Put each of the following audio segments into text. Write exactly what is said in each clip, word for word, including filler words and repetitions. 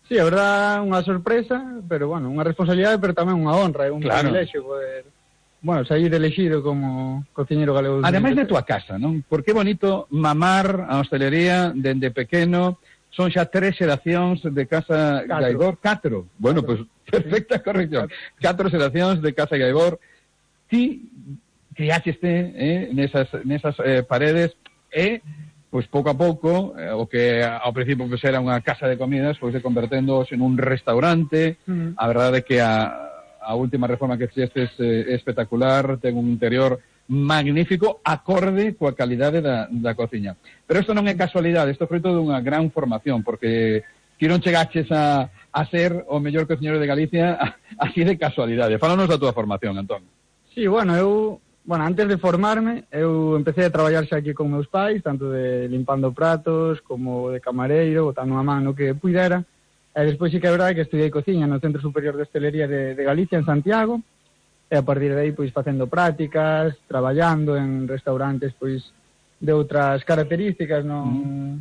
Sí, a verdad, unha sorpresa, pero, bueno, unha responsabilidade, pero tamén unha honra, é un claro. privilexio poder, bueno, sair elegido como cociñeiro galego. Ademais de tua casa, non? Porque é bonito mamar a hostelería dende pequeno, son xa tres xeracións de Casa Catro. Gaibor, catro. Bueno, pois, pues, perfecta corrección. Catro xeracións de Casa Gaibor. Ti criácheste eh, nesas, nesas eh, paredes e... pois pouco a pouco, eh, o que ao principio pues, era unha casa de comidas, pois se convertendo en un restaurante. Mm. A verdade é que a, a última reforma que fixestes eh, é espectacular, ten un interior magnífico, acorde coa calidade da, da cociña. Pero isto non é casualidade, isto é fruto dunha gran formación, porque ti non chegaches a, a ser o mellor cociñeiro de Galicia así de casualidade. Fálanos da túa formación, Antón. Sí, bueno, eu... Bueno, antes de formarme, eu empecé a traballar xa aquí con meus pais, tanto de limpando pratos, como de camareiro, botando a man no que puidera. E despois sí que é verdade que estudiei cociña no Centro Superior de Hostelería de, de Galicia, en Santiago, e a partir de aí, pois, facendo prácticas, traballando en restaurantes, pois, de outras características, non... Mm.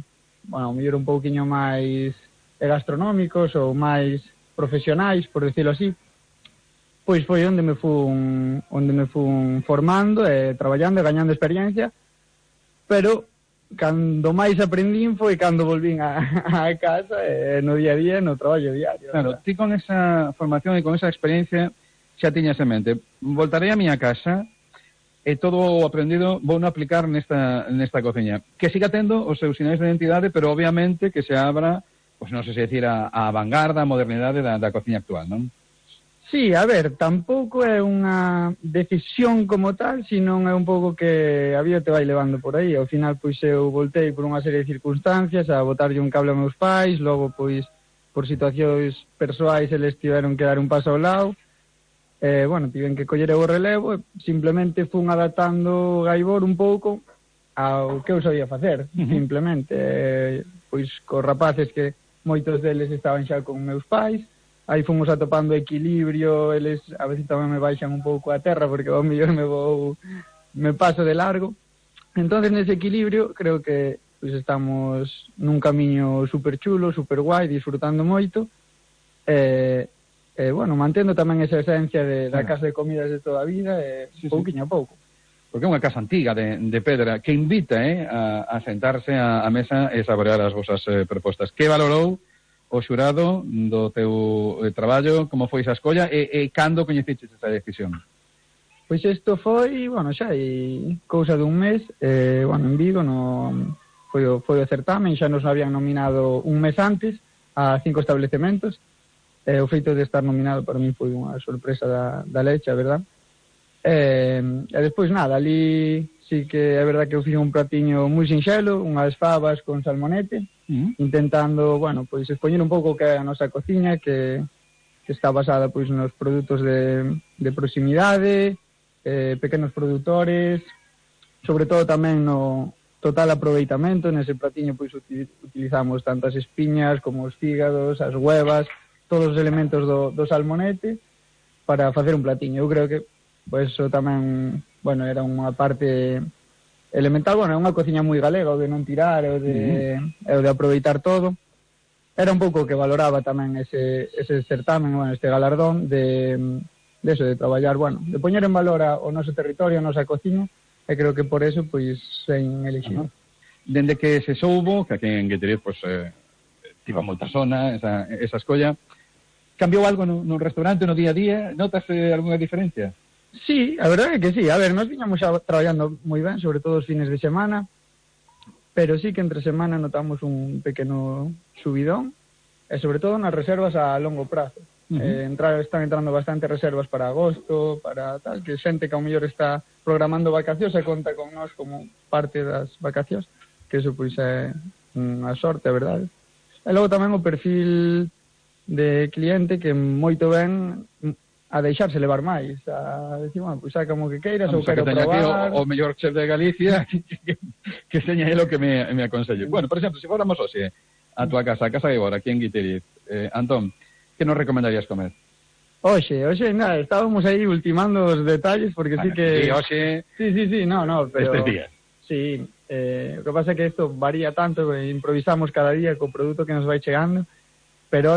Bueno, mellor un pouquiño máis gastronómicos ou máis profesionais, por decirlo así. Pois foi onde me fun onde me fun formando e traballando e gañando experiencia, pero cando máis aprendín foi cando volvín a, a casa e no día a día, no traballo diario. Claro, ti con esa formación e con esa experiencia xa tiñas en mente, voltarei a miña casa e todo o aprendido vou non aplicar nesta, nesta cociña. Que siga tendo os seus sinais de identidade, pero obviamente que se abra, pois non sei se decir, a, a vanguarda, a modernidade da, da cociña actual, non? Sí, a ver, tampouco é unha decisión como tal, senón é un pouco que a vida te vai levando por aí. Ao final, pois, eu voltei por unha serie de circunstancias a botarlle un cable a meus pais, logo, pois, por situacións persoais, eles tiveron que dar un paso ao lado. Eh, bueno, tiven que coller o relevo e simplemente fun adaptando Gaibor un pouco ao que eu sabía facer, uh-huh. simplemente. Eh, pois, cos rapaces que moitos deles estaban xa con meus pais, aí fomos atopando equilibrio, eles a veces tamén me baixan un pouco a terra porque ao mellor me vou me paso de largo. Entonces nese equilibrio creo que pues, estamos nun camiño super chulo, super guai, disfrutando moito. Eh, eh, bueno, mantendo tamén esa esencia de, da casa de comidas de toda a vida, eh, sí, pouquiño sí. a pouco. Porque é unha casa antiga de, de pedra que invita eh, a, a sentarse a, a mesa e saborear as vosas eh, propostas. Que valorou o xurado do teu eh, traballo, como foi esa escolla e, e cando coñeciches esa decisión? Pois isto foi, bueno, xa hai cousa dun mes, eh, bueno, en Vigo no, foi, o, foi o certamen, xa nos habían nominado un mes antes a cinco establecementos, e eh, o feito de estar nominado para mí foi unha sorpresa da, da leche, a verdad. Eh, e despois nada, ali sí que é verdad que eu fiz un pratiño moi sinxelo, unhas fabas con salmonete, uh-huh. intentando, bueno, pois expoñer un pouco que é a nosa cociña, que, que está basada pois nos produtos de, de proximidade, eh, pequenos produtores, sobre todo tamén no total aproveitamento. Nese pratiño pois utilizamos tanto as espiñas como os fígados, as huevas, todos os elementos do, do salmonete para facer un platiño. Eu creo que pois eso tamén, bueno, era unha parte elemental, bueno, é unha cociña moi galega, o de non tirar, o de, mm. o de aproveitar todo. Era un pouco que valoraba tamén ese, ese certamen, bueno, este galardón de, de eso, de traballar, bueno, de poñer en valor a, o noso territorio, a nosa cociña, e creo que por eso, pois, sen elegido. Uh-huh. Dende que se soubo, que aquí en Guitiriz, pois, eh, tiva moita zona, esa, esa escolla, cambiou algo no, no restaurante, no día a día? Notas eh, algunha diferencia? Sí, a verdade é que sí. A ver, nós viñamos xa traballando moi ben, sobre todo os fines de semana, pero sí que entre semana notamos un pequeno subidón, e sobre todo nas reservas a longo prazo. Uh-huh. eh, entrar, están entrando bastante reservas para agosto, para tal, que xente que ao mellor está programando vacacións e conta con nós como parte das vacacións, que eso pois é unha sorte, a verdade. E logo tamén o perfil de cliente que moito ben a deixarse levar máis, a decir, bueno, pois saca como que queiras, ou quero probar. Aquí o, o mellor chef de Galicia que, que, que seña ele o que me, me aconsello. Bueno, por exemplo, se fóramos hoxe a tua casa, a Casa Gaibor, aquí en Guitiriz, eh, Antón, que nos recomendarías comer? Oxe, oxe, nada, estábamos aí ultimando os detalles, porque bueno, sí que... Sí, oxe... Sí, sí, sí, no, no, pero... Estes días. Sí, eh, o que pasa é que isto varía tanto, improvisamos cada día co produto que nos vai chegando, pero ahora